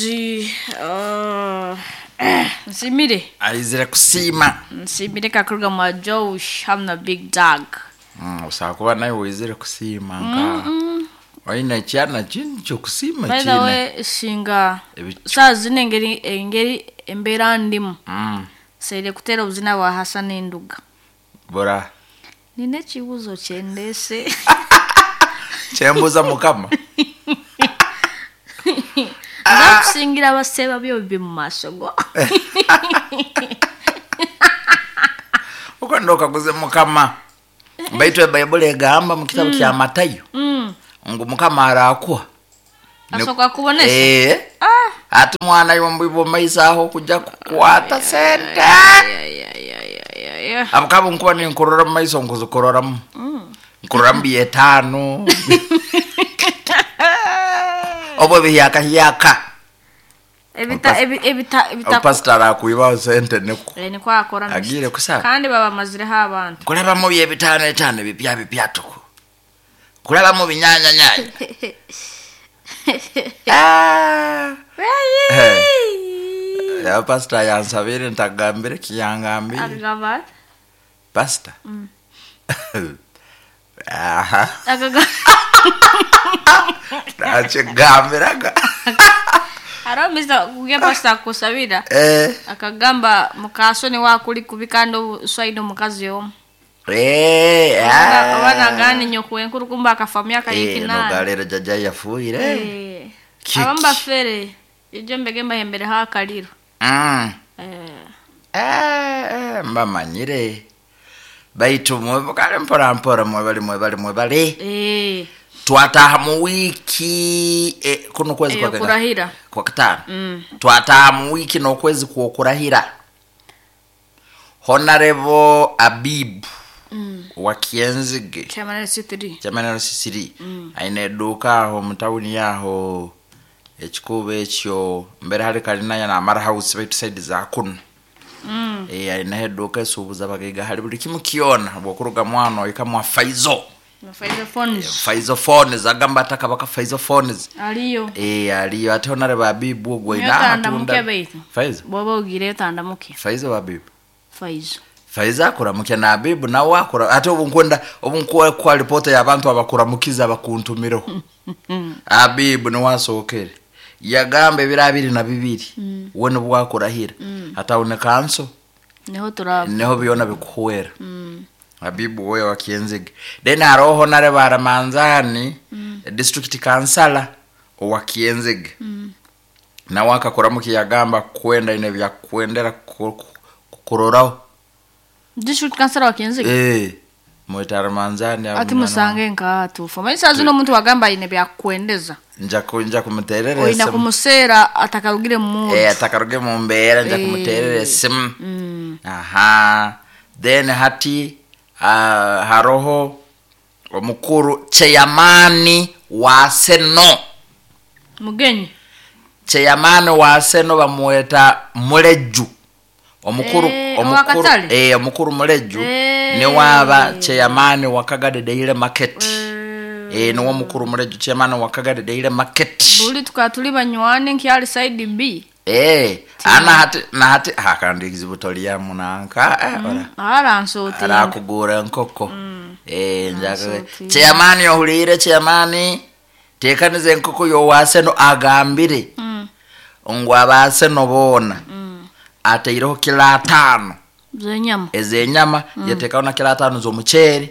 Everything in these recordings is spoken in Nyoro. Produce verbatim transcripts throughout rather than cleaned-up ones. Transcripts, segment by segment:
Otherwise, uh, nsimire. Aizire kusiima. Nsimire kakuruga mwa Josh hamu na Big Dog. Mm, osaba kuba nawe wizire kusiima nka oine ekyana kindi kyokusiima By the kiine way, singa Ebicu. saa zino engeri engeri embeera ndimu Mm, nseire kuteera obuzina bwa Hassan Enduga. Bura. Nina ekibuuzo kyendeese. Kyembuuza mukama. Nza kusingira abaseeba byo bibi mu maaso go. Uko ndo kaguze mukama. Baitu ebaibuli egamba mu kitabu kya Matayo Mm. ngu mukama arakuha. Ne- Asooka kubonesa. Eh. Ah. Ati mwana yombi maiso aho kujja kukwata sente. Ay, ay, ay, ay, ay, ay. Abukaba nkuba ninkurora mu maiso nkuzikuroramu. Nkuroramu byetaano. Obwo bihyaka hyaka. Ebita ebi- ebita ebita Pastor arakwibaho sente niko. Eh, niko akora Agiire kusaba. kandi babamazireho abantu. Kulabamu byebitaano etaano bipya bipya tuku. Kulabamu binyanya nyanya. Ah. Hey. Ya pastor yansabire ntagambire kiyangambire. Akagamba ati? Pastor. Aha. Akagamba Nakigambiraga. hariho Mister kuge pastor akusabira Eh. akagamba mukasoni wakuli kubi kandi oswaine omukazi omu. Eh. ah. Oba nagana nyoko enkuru kumba akafa mu myaka Eh, y'ekinaana. nogalero jaja yafuire. Eh. Kiki. Abamu bafere ijo mbege mbahembereho akariro. Mm. Eh. Eh, eh, mbamanyire. Baitu mwe kale mpora mpora mwebale mwebale mwebale. Eh. Twataha mu wiki eh, kuno kwezi kwa Eyokurahira. kwa katano. Mm. Twataha mu wiki n'okwezi kwokurahira. Honorable Abib Mm. wa Kienzige Chairman L C three. chairman L C three aine edduuka aho mu tawuni aho ekikuubo ekyo mbere hari kalinaya namara house baitu side za kuno. Mm. Eh, aineho edduuka esuubuza abagaiga hari buli kimu kyona bwokuruga mwana oika mwa Faizo. Faizo phones. Faizo phones agamba ataka baka Faizo phones. Aliyo. Eh, aliyo ate Honorable Abib ogwo aine Nyotandamuke amatunda. baitu. Faizo. Bwoba ogire otandamuke. Faizo Abib. Faizo. Faiza akuramukya na Abibu nawe akura ate obu nkwenda obu nkuwa kwa ripota y'abantu abakuramukiza abakuntumireho. Abibu niwe asookere yagamba ebiro abiri na bibiri we nibwo akurahira atawune kanso Niho turaba. niho byona bikuhwera. Mm. Abibu we wa Kienzige. Then hariho Honorable Aramanzani district councillor owa Kienzige. Nawe akakuramuki yagamba kwenda ine byakwendera ku- ku- kuroraho. District councillor wa Kienzige. Eh, mwita Aramanzani Ati musange nka tufa. Manyi saa zino omuntu wagamba aine byakukwendeza. nja ku- nja kumuterera Oina esimu. kumuseera atakarugire mu Eh, atakaruge mu mbeera nja Eh. kumuterera esimu. Mm. Aha. Then hati uh, haroho omukuru chairman wa Seno. Mugenyi. Chairman wa Seno bamweta Muleju. Omukuru Eh, omukuru owakatale? eh omukuru Muleju Eh. ni waba chairman wa Kagadi Daily Market. Eh. Eh, niwo mukuru Muleju chairman wa Kagadi Daily Market. Buli tukaba tuli banywani nkyali side B. Eh, ana hati na hati hakandi ekizibu tolyamu nanka eh, ora Aransotinga. arakugura enkoko. Eh, njaka Aransotinga. chairman ohuliire chairman tekaniza enkoko yowaseno agambire Mm. ngu abaseno boona Mm. ateireho kilo ataano Zenyama. ez'enyama yatekaho na kilo ataano z'omuceeri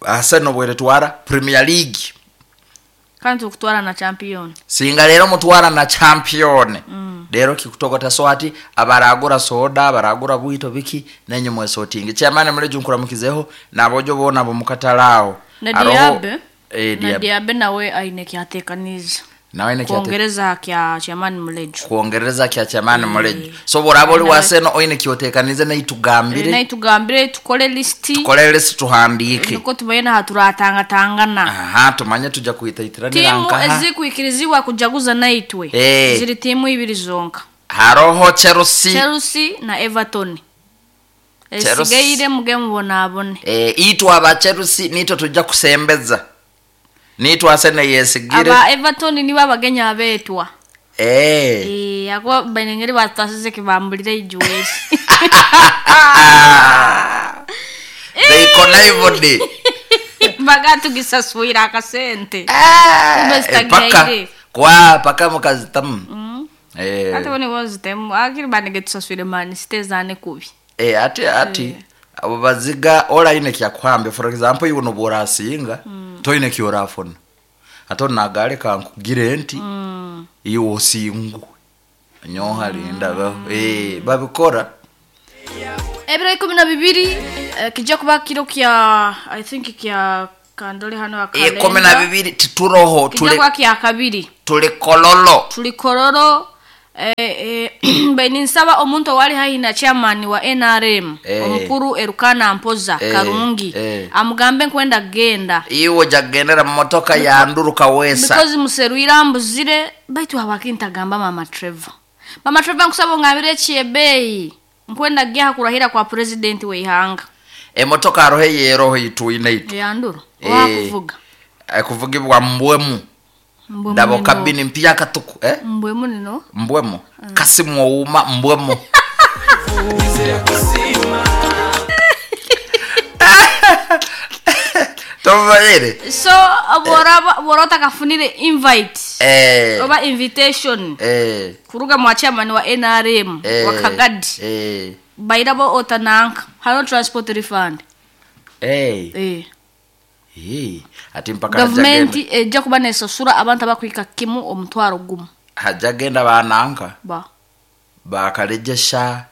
aseno bweretwara Premier League. Kandi tukutwara na champion. Singa rero mutwara na champion rero kikutogota so ati abaragura soda abaragura bwito biki nenye mwesotingi chairman muleju nkuramukizeho nabojo bona bomukatalawo. Na Diabe. Eh, Na Diabe Diabe nawe aine kyatekaniza. Nawe ne kyate Kuongereza kya chairman Muleju. Kuongereza kya chairman Muleju so boraba oli waseno oine kyotekanize naitugambire. Naye tugambire tukole listi. Tukole list tuhandike. Niko tumanye naha turatangatangana. Aha, tumanye tuja kuitaitiranira Timu nkaha. ezikwikirizibwa kujaguza naitwe Eh. ziri timu ibiri zonka. Haroho Chelsea. Chelsea na Everton. Chelsea. Esigaire muge mubonabone. Eh, itwe aba Chelsea nitwe tujja kusembeza nitwe Arsenal yesigire. Aba Everton nibo abagenya abetwa. Eh. Eh, ako bainengeri batasize kibambulire ijuwesi. They connived. Bagatugisa akasente. Ah, Kumbe paka zitagaire. kwa paka mukazitamu. Mm. Eh. Ate bone bozitemu akiri banege tusaswire mani sitezane kubi. Eh, ati ati abo baziga olaine kyakuhambe, for example, iwe noburasinga mm. toine kyorafuna ate nagale kankugire nti mm. iwe osingu nyoha linda mm. eh babikora. Ebiro ikumi na bibiri eh, kijja kuba kiro kya I think kya kandole hano akalenda. Ikumi na bibiri tituroho kijja tuli kuba kya kabiri tuli kololo tuli kololo. Eh, eh, beninsaba omuntu owali haihi na chairman wa N R M Eh. omukuru Erukana Mpoza Eh, Karungi eh. amugambe nkwenda genda iwe jagendera mu motoka yanduruka wesa because museruira mbuzire baitu habakintagamba mama Trevor mama Trevor nkusaba ngabire chiebeyi nkwenda gya kurahira kwa president weihanga emotoka arohe yeroho ituine itu yanduru Eh. wakuvuga kuvugibwa mbwemu Mbwemu ndabo nino. kabini mpya katuku eh mbwemu nino mbwemu mm. Kasimu ouma mbwemu. Tovaire so boraba borota kafunire invite eh oba invitation eh kuruga mwa chairman wa N R M eh wa Kagadi eh bairabo otananka hano transport refund eh eh eh ati mpaka government ejja kuba nesasura abantu abakwika kimu omutwaro gumu hajagenda bananka ba bakalejesha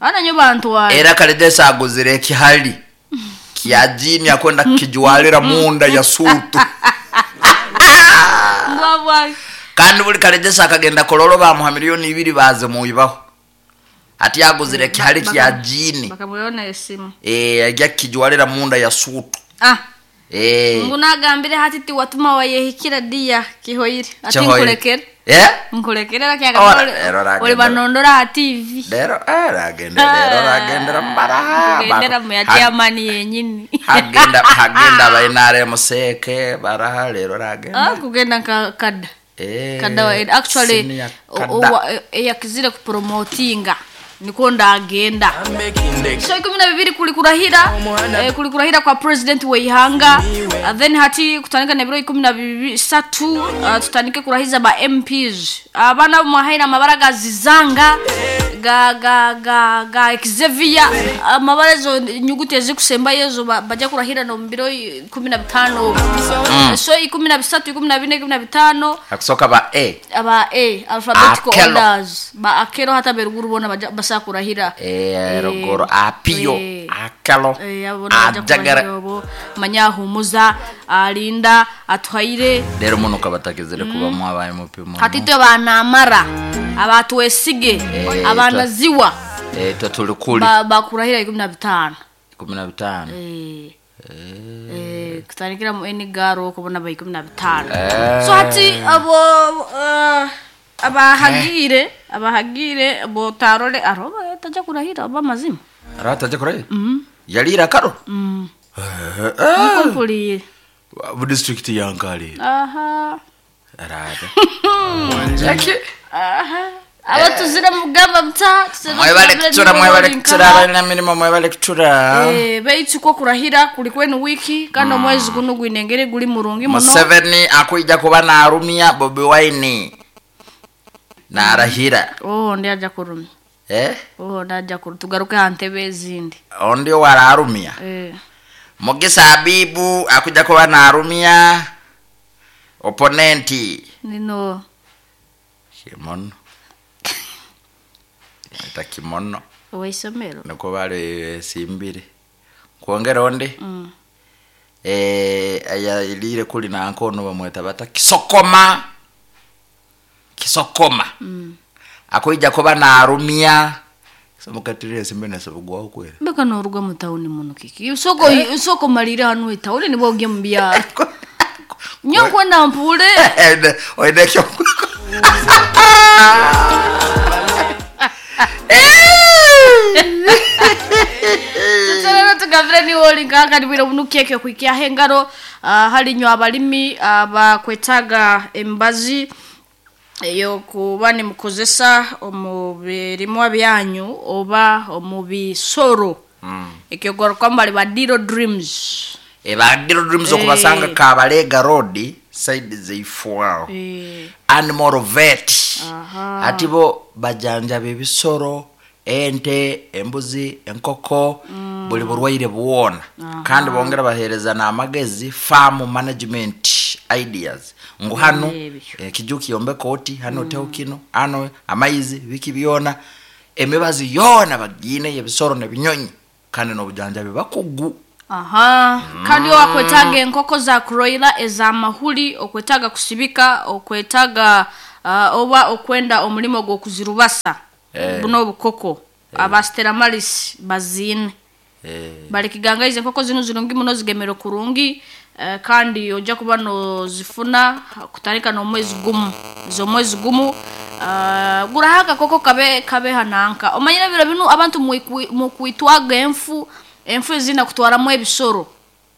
ana nyo bantu wa era kalejesha aguzire kihali kya jini akwenda kijwalira munda ya sutu mbwa kandi buli kalejesha akagenda kololo bamuha miliyoni ibiri baze muibaho ati aguzire kihali kya jini bakamuyona esimu eh ajya kijwalira munda ya sutu ah eh ngunagambire hati ti watuma wayehikira dia kihoire ati Kihoire. nkulekere eh nkulekere Ora, lakya ero ragenda. oli banondora ha T V lero eh ragenda lero ragendera mbara kugendera mu ya chairman yenyini hagenda hagenda bainare museke baraha lero ragenda ah kugenda nka kada eh kada wa actually senior o- kada. o- eyakizire kupromotinga niko ndagenda so ikumi na bibiri kuli kurahira eh, kuli kurahira kwa president weihanga uh, then hati kutandika na biro ikumi na bisatu uh, tutandike kurahiza ba M Ps abana uh, mwahaira amabara gazizanga ga ga ga ga Xavier amabara ezo nyuguti ezikusemba yezo ba- bajya kurahira no mbiro ikumi na bitano mm. So ikumi na bisatu ikumi na bine ikumi na bitano akusoka ba A aba A alphabetical Akelo. orders ba akero hata beruguru bona baja basakurahira eh rogoro apio eh, akelo eh abona baja ajagara kurahira obo manyahumuza alinda atwaire rero muno kabatakizire kuba mwabaye mupimo hatitwe banamara abatwesige Eh, abanaziwa eh twe tuli kuli ba- bakurahira ikumi na bitano ikumi na bitano eh eh kutandikira mu enigaro kubona ba ikumi na bitano Eh. so hati abo eh, abahagire abahagire botarole aroba taja kurahira oba mazima arataje kurahira yalira karo mm Eh, eh. nkumpulire Bu district yankalira aha arata Jackie aha abatuzire mugamba mta mwebale kutura mwebale kutura abalina mirimo mwebale kutura eh beitu ko kurahira kuli kwenu wiki kandi omwezi guno gwinengere guli murungi muno Museveni akuija kuba narumya Bobi Wine narahira oh ndi aja kurumya eh oh ndaja kuru tugaruke hantebe ezindi ondio wararumya eh Mugisa Habibu akuja kuba narumya opponenti nino kimono eta kimono owaisomero niko bali simbire kwongera onde mm. eh aya ilire kuli na nkono bamweta bata kisokoma kisokoma mm. akuija kuba narumya somukatire simbe nasabugwaho kwera mbeka noruga mu tauni muno kiki soko eh? soko malire hanu etauni nibo ugiye mu byaro nyo kwenda mpule oinekyo tuterero tugavire ni wolinga kandi bwira bunu keke kwikia hengaro uh, hali nyo abalimi abakwetaga uh, embazi Eyo kuba nimukozesa omu birimwa byanyu oba omu bisoro. Mm. Ekyogarukamu bali ba Diro Dreams. E, ba Diro Dreams okubasanga Eh. Kabalega Road side zeifuawo. Eh, Animal vet. Aha. Ati bo bajanjaba ebisoro, ente, embuzi, enkoko, buli burwaire bwona. Kandi bongera bahereza n'amagezi, farm management ideas, ngu hano Ebyo. ekiju kiyombeka oti hano, oteho kino hano, amaizi, biki byona, emibazi yoona bagiine ebisoro nebinyonyi, kandi n'obujanjabi bakugu. Aha, kandi owakwetaaga enkoko za kuroila ez'amahuri, okwetaaga kusibika, okwetaaga uh, oba okwenda omulimo gw'okuzirubasa, Eh. buno obukoko aba Steramaris baziine. Eh, Balikigangaiza enkoko zinu zirungi muno, zigemere kurungi, eh, kandi ojja kuba nozifuna kutandika n'omwezi gumu, z'omwezi gumu. uh, guraho akakoko kabe kabe hananka. Omanyire biro binu abantu mwikwi- mukwitwaga enfu, enfu ezina kutwaramu ebisoro.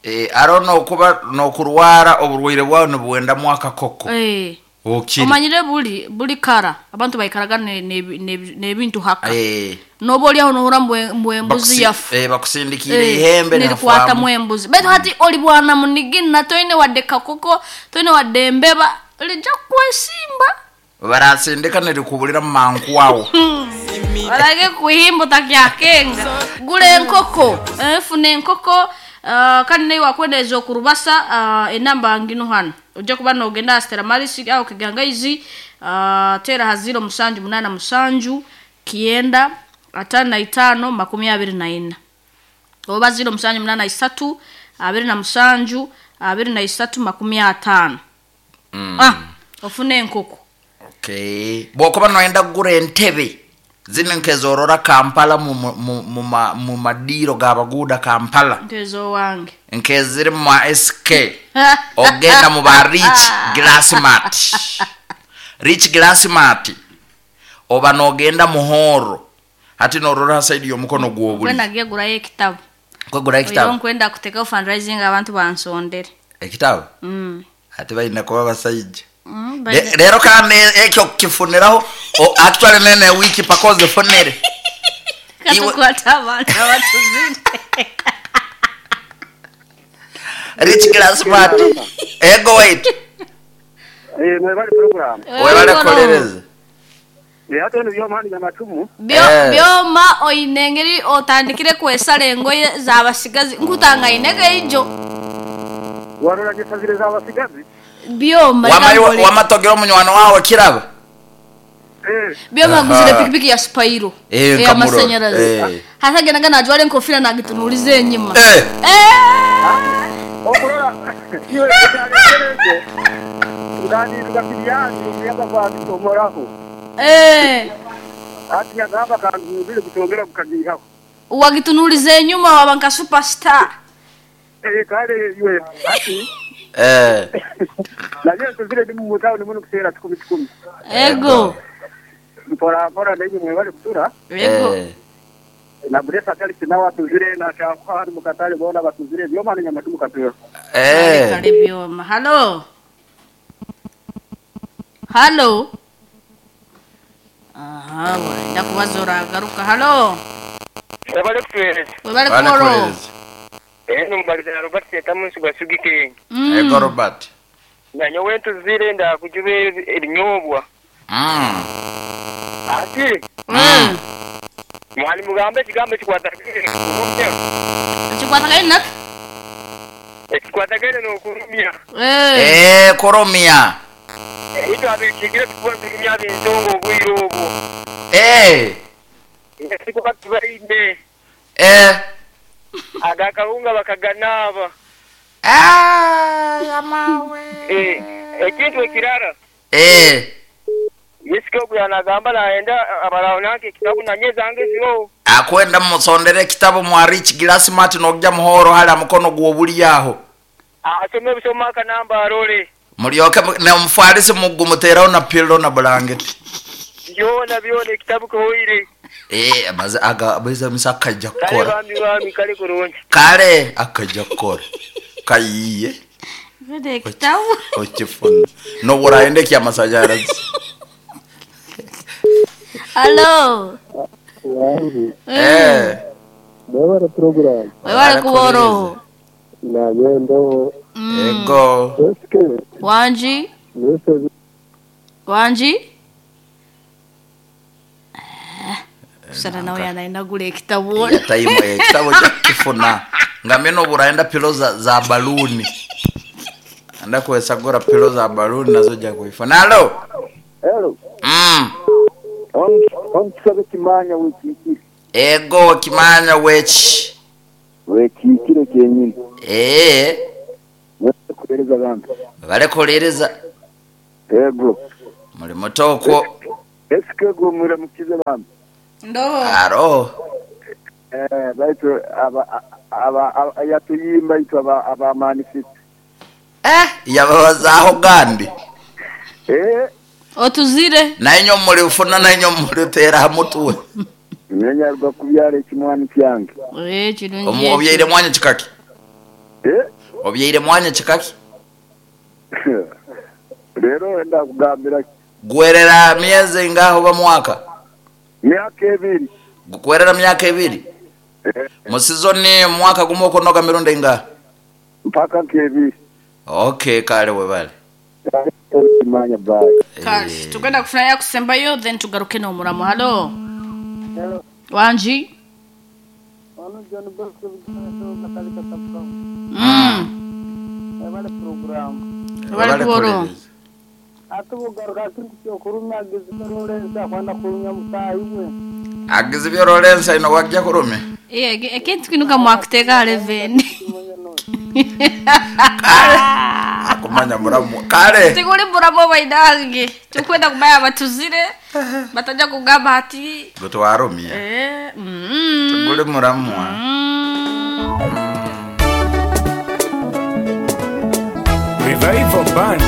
Eh, aro nokuba nokurwara oburwaire bwawe nibwendamu akakoko. Eh. Okiri. Omanyire buli buli kara abantu baikaraga n'ebintu ne, ne, n'ebintu haka. Eh, Noba oliaho nohura mbwe mbwe embuzi bakusi- yafu. eh, bakusindikire ihembe. Nirikwatamu nafwamu. Embuzi, baitu hati oli bwana munigina, toine wadde kakoko, toine wadde embeba, lijja kwesimba. Barasindika nirikubulira mu manku awo. Barage kuhimba otakyakenga. Gula enkoko, eh, funa enkoko, uh, kandi naye wakwendeza okurubasa, uh, enamba ngino hano, ojja kuba nogenda Stera Maris aho Kigangaizi, uh, tera ha ziro musanju munana musanju kienda atano na itano makumi abiri na ina, oba ziro musanju munana isatu abiri na musanju abiri na isatu makumi atano. Mm. Ah, ofune enkoko. Okay, bwokuba noyenda kugura entebe zino nkezorora Kampala mu, mu, mu, ma- mu madiiro gabaguuda Kampala, nkezo wange, nkeziri mu ma S K, ogenda mu ba Rich Glassmart. Rich Glassmart oba nogenda muhoro ati norora side y'omukono gwobuli. Kwenda gyegurayo ekitabo. Kwegura Oyo ekitabo. Nkwenda kutekaho fundraising, abantu bansondere. Ekitabo. Mm. Ati balina kuba basajja. Mm, Le- baina- leero kandi ekyo kifuniraho o- actually nene wiki pakoze funire. Iwe- Katukwata abantu abatuzire. Rich Glassmart, ego wait. Eh, mwebale program. Webale kukolereza. Eh, hata eno byomani nyamatumu. Byo- Eh. Byoma oine engeri otandikire kwesala engoye z'abasigazi, nkutangaine geijo. Warora gisazire z'abasigazi. Byoma Wamayi- reka nkole. Wamatogera omunywano wawe kiraba. Eh, Byoma Aha. aguzire pikipiki ya Spiro Eh, ey'amasanyalazi. Eh. Hatagendaga najwara enkofira nagitunuliza enyuma. Eh. Eh! Okurora iwe ekyalekereze. Ngani tukakiriani omuyaga gwabitomoraho. Eh. Ati yagamba kanzubire kutongera kukagihaho. Wagitunuliza enyuma waba nka superstar. Eh, kale iwe ati Eh. naye tuzire ndi mu town muno kuseera kikumi kikumi. Ego. Mpora mpora nenye mwebale kutura. Ego. Eh. Na buresa kali sinawa tuzire na shakwa mu katale bona batuzire byomani nyamatumu katero. Eh. Kale byoma. Halo, halo. Aha, wenda kubaza oragaruka. Halo. Webale kutuweereza. Webale. Webale Koro. kukolereza. Eno mubaliza na Robert Setamu nsigwa Sugikenge. Ego Robert. Nanyowe ntuzire ndakujuba ebinyobwa. Mm. Ati Mm. mwali mugambe ekigambo ekikwatagene n'okulumya. Ekikwatagane naki? Ekikwatagene n'okulumya. Eh. Eh, koromia. Itwe abekiikire tukuba tulumya ab'ensonga obwire obwo. Eh. Sikuba tubaine. Eh. Agakawunga bakaganaaba. Ah, yamawe. Eh, ekintu ekirara Eh. Yesika ogu yanagamba nayenda abalawo nange ekitabu nanye zange ziro. Akwenda musondere ekitabo mwa Rich Glassmart, nokujja muhoro hali mukono gwobuli aho. Asome ebisoma akanamba arole. Mulyoke mu- ne mufalisi mugumuteraho na pillow na blanket. Byona byona ekitabu kihoire. Eh, maze aga bweza misa akajja Kale kukora. bambi bambi kale kurungi. Kale akajja kukora kayiye. Vede ekitabu. Okifuna noburaende kyamasanyalazi. Halo. Eh. Ndabara program. Webale kuboro. Nagendo. Ego. Eske. Wanji. Nese Wanji. Sana nawe anaendagula ekitabo. Yatayimu ekitabo kya kifuna. Nga mino buraenda pilo za, za baluni. Anda kuwesagura pilo za baluni nazo ja kuifuna. Halo. Hello. Mm. On on kisabe kimanya wekikire. Ego kimanya wechi. Wekikire kenyini. Eh. Kuhereza abantu. Balekolereza Ego. muli mutoko. Eske go muramukize abantu. Ndo. Aro. Eh baitu aba aba aba- yatuyimba itu aba aba manifest. Eh, yababazaho gandi. Eh Otuzire. Nainyo muli ufuna nainyo muli tera mutuwe. nyanyarwa kubyara ekimwani kyange. Eh kirungi. Omu obyaire mwanya kikaki. Eh Obyaire mwanya kikaki. rero enda kugambira Gwerera miezi ngaho ba mwaka. myaka ebiri. Gwerera myaka ebiri. Eh, Mu season mwaka gumu okunoga mirundi inga. mpaka nkebiri. Okay, kale webale. Kimanya bye. Kale tugenda kufuna kusembayo then tugaruke n'omuramu. Halo. Wanji. Ono John Bosco Katalika Sabkamu. Mm. Ebale program. Webale kuboro. Ate bugaruka kintu kyokurumya agizibyo Lawrence akwenda kurumya mutayi we. Agizibyo Lawrence ino wajja kurume. Eh ekintu kinuka mwakuteka eleven. Kale. Akumanya muramu. Kale. Tikuli muramu bainange. Tukwenda kubaya batuzire. Bataja kugamba ati Gutwarumye. eh mm. Tugule muramu. Mm. Revival Band.